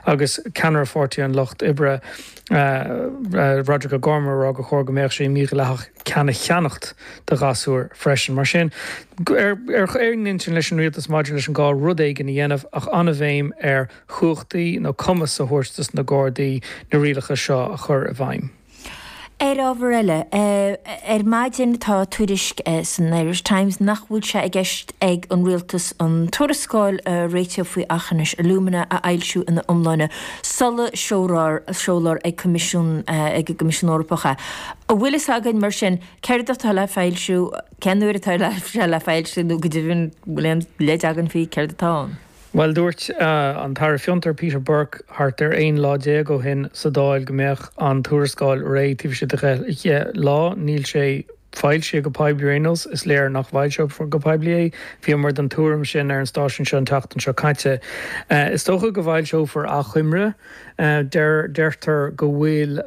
Agus ceannaire Pháirtí an Lucht Oibre, Roderic O'Gorman ag rá gur chóir go mbeadh sé mídhleathach ceann a cheannacht do ghasúir freisin. Mar sin, ar aon intinn leis an rialtas maidir leis an gá rud éigin a dhéanamh ach an-bhéim ar chumhachtaí nó cumas a thabhairt dos na Gardaí na rialacha seo a chur i bhfeidhm. Ar ábhar eile, ar maidin tá tuairisc san Irish Times nach bhfuil sé i gceist ag an Rialtas an tuarascáil a réitíodh faoi Aughinish Alumina a fhoilsiú ina iomláine sula seolfar ag Coimisiún ag an gCoimisiún Eorpach é. An bhfuil fhios againn mar sin céard atá le foilsiú, cén uair atá sé le foilsiú nó go deimhin an bhfuil aon leid againn faoi céard atá ann? Bhuel, dúirt an tAire Fiontar, Peter Burke, thart ar 11 lá ó shin sa Dáil go mbeadh an tuarascáil réidh taobh istigh de 10 lá. Níl sé foilsithe go poiblí ar aon nós. Is léir nach bhfoilseofar go poiblí é. Bhíomar den tuairim sin ar an stáisiún seo an tseachtain seo caite. Is dócha go bhfoilseofar achoimre. Deirtear go bhfuil.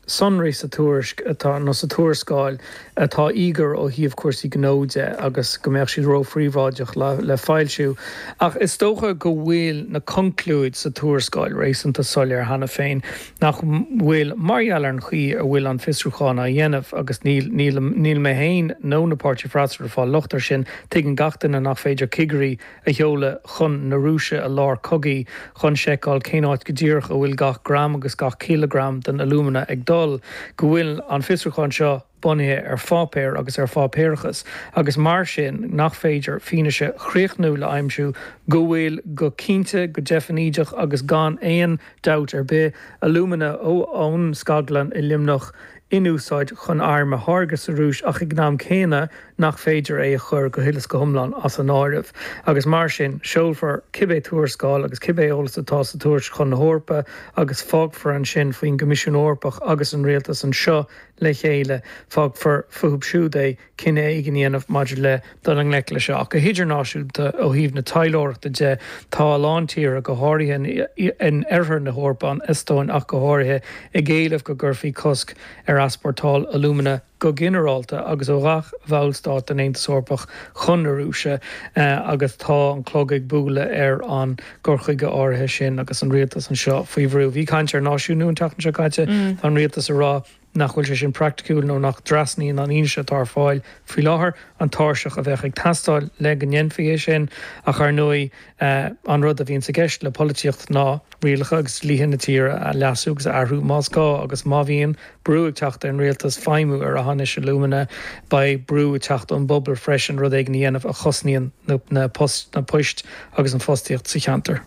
sonraí sa tuairisc atá, nó sa tuarascáil, atá íogair ó thaobh cúrsaí gnó de agus go mbeadh siad róphríobháideach le foilsiú. Ach is dócha go bhfuil na conclúid sa tuarascáil réasúnta soiléir cheana féin, nach bhfuil, mar gheall ar an chaoi a bhfuil an fiosrúchán á dhéanamh, agus níl, níl, níl mé féin nó na páirtí freasúra ag fáil locht air sin, tuigeann gach duine nach féidir cigirí a sheoladh chun na Rúise i lár cogaidh chun seiceáil cén áit go díreach a bhfuil gach gram agus gach cileagram den alúmana ag dul, go bhfuil an fiosrúchán seo bunaithe ar pháipéar agus ar pháipéarachas agus mar sin nach féidir fianaise chríochnúil a aimsiú go bhfuil go cinnte, go deifnídeach agus gan aon dabht ar bith, alúmana ón scaglann i Luimneach in úsáid chun airm a tháirgeadh sa Rúis ach ag an am céanna nach féidir é a chur go huile is go hiomlán as an áireamh. Agus mar sin, seolfar cibé tuarascáil agus cibé eolas atá sa tuairisc chun na hEorpa agus fágfar ansin faoin gCoimisiún Eorpach agus an rialtas anseo le chéile, fágfar fúthu siúd é cinneadh éigin a dhéanamh maidir le dul i ngleic leis seo. Ach go hidirnáisiúnta, ó thaobh na taidhleoireachta de, tá a lán tíortha, go háirithe in oirthear na hEorpa, an Eastóin ach go háirithe, ag éileamh go gcuirfí cosc ar easpórtáil alúmana go ginearálta agus ó gach bhallstát den Aontas Eorpach chun na Rúise agus tá an clog ag bualadh ar an gcur chuige áirithe sin agus an rialtas anseo faoi bhrú. Bhí caint ar náisiúnú an tseachtain seo caite, tá an rialtas ag rá nach bhfuil sé sin praiticiúil nó nach dtrasnaíonn an fhianaise atá ar fáil faoi láthair an tairseach a bheadh ag teastáil le go ndéanfaí é sin. Ach ar ndóigh, an rud a bhíonns i gceist le polaitíocht ná rialacha agus dlíthe na tíre a leasú agus a athrú más gá agus má bhíonn brú ag teacht ar an rialtas feidhmiú ar Aughinish Alumina, beidh brú ag teacht ón bpobal freisin rud éigin a dhéanamh a chosnaíonn na poist agus an fostaíocht sa cheantar.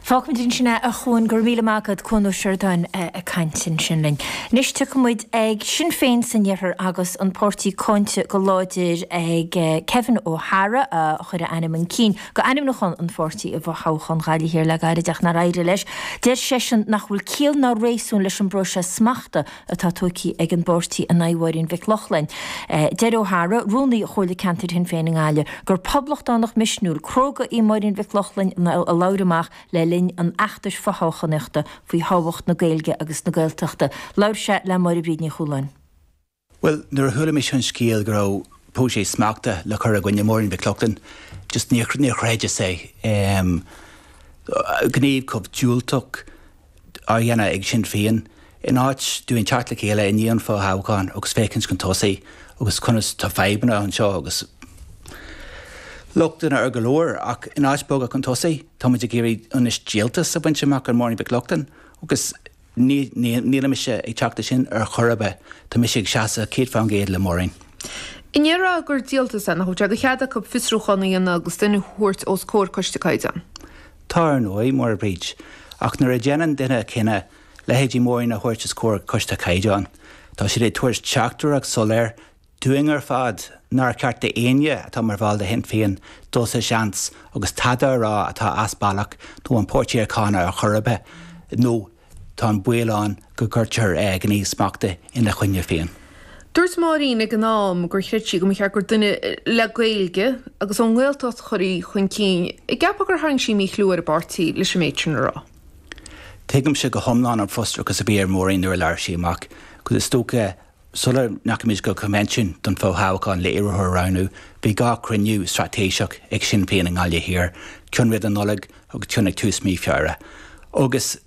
Fágfaimid ansin é, a Chuan. Go raibh míle maith agat, Cuan Ó Seireadáin ag caint ansin linn. Anois tiocfaidh muid ag Sinn Féin san Iarthar agus an páirtí cáinte go láidir ag Kevin O'Hara a chuir a ainm chun cinn go ainmniúchán an pháirtí i bhfothoghchán Ghaillimh Thiar le gairid ach nár éirigh leis. Deir seisean nach bhfuil ciall ná réasún leis an bpróiseas smachta atá tógtha ag an bpáirtí in aghaidh Mháirín Mhic Lochlainn. Deir O'Hara, rúnaí Chomhairle Ceantair Shinn Féin i nGaillimh, gur poblachtánach misniúil, cróga í Máirín Mhic Lochlainn a labhair amach le linn an fheachtais fothoghchánaíochta faoi thábhacht na Gaeilge agus na Gaeltachta. Labhair sé le Máire Bríd Ní Chualáin. Bhuel, nuair a chuala mise an scéal go raibh próiseas smachta le cur i gcoinne Máirín Mhic Lochlainn, just níor chreideas é. Gníomh chomh diúltach á dhéanamh ag Sinn Féin, in áit dúinn teacht le chéile i ndiaidh an fhothoghcháin agus féachaint chun tosaigh agus conas tá fadhbanna anseo agus lochtanna ar go leor ach in áit bogadh chun tosaigh tá muid ag iarraidh anois díoltas a bhaint amach ar Máirín Mhic Lochlainn agus ní níl mise ag teacht leis sin ar chor ar bith. Tá mise ag seasamh 100% le Máirín. An ndéarfá gur díoltas é, nach bhfuil sé de chead acu fiosrúchán a dhéanamh agus duine a thabhairt os comhair Coiste Caighdeán? Tá ar ndóigh, Máire Bríd, ach nuair a dhéanann duine cinneadh leithéidí Máirín a thabhairt os comhair Coiste Caighdeán, tá siad ag tabhairt teachtaireacht soiléir dúinn ar fad nár cheart d'éinne atá mar bhall de Shinn Féin dul sa seans agus tada a rá atá as bealach nó an páirtí a cháineadh ar chor ar bith nó tá an baol ann go gcuirtear gníomh smachta ina choinne féin. Dúirt Máirín ag an am gur chreid sí go mba cheart gur duine le Gaeilge agus ón nGaeltacht a chuirfí chun cinn. An gceapfá gur tharraing sí míchlú ar an bpáirtí leis an méid sin a rá? Tuigimse go hiomlán an frustrachas a bhí ar Mháirín nuair a labhair sí amach, agus is dócha sula ndeachaigh muid go coinbhinsiún don fhothoghchán le iarrthóir a roghnú, bhí 2 chruinniú straitéiseach ag Sinn Féin i nGaillimh Thiar, ceann roimh an Nollaig agus ceann ag tús mí Feabhra. Agus.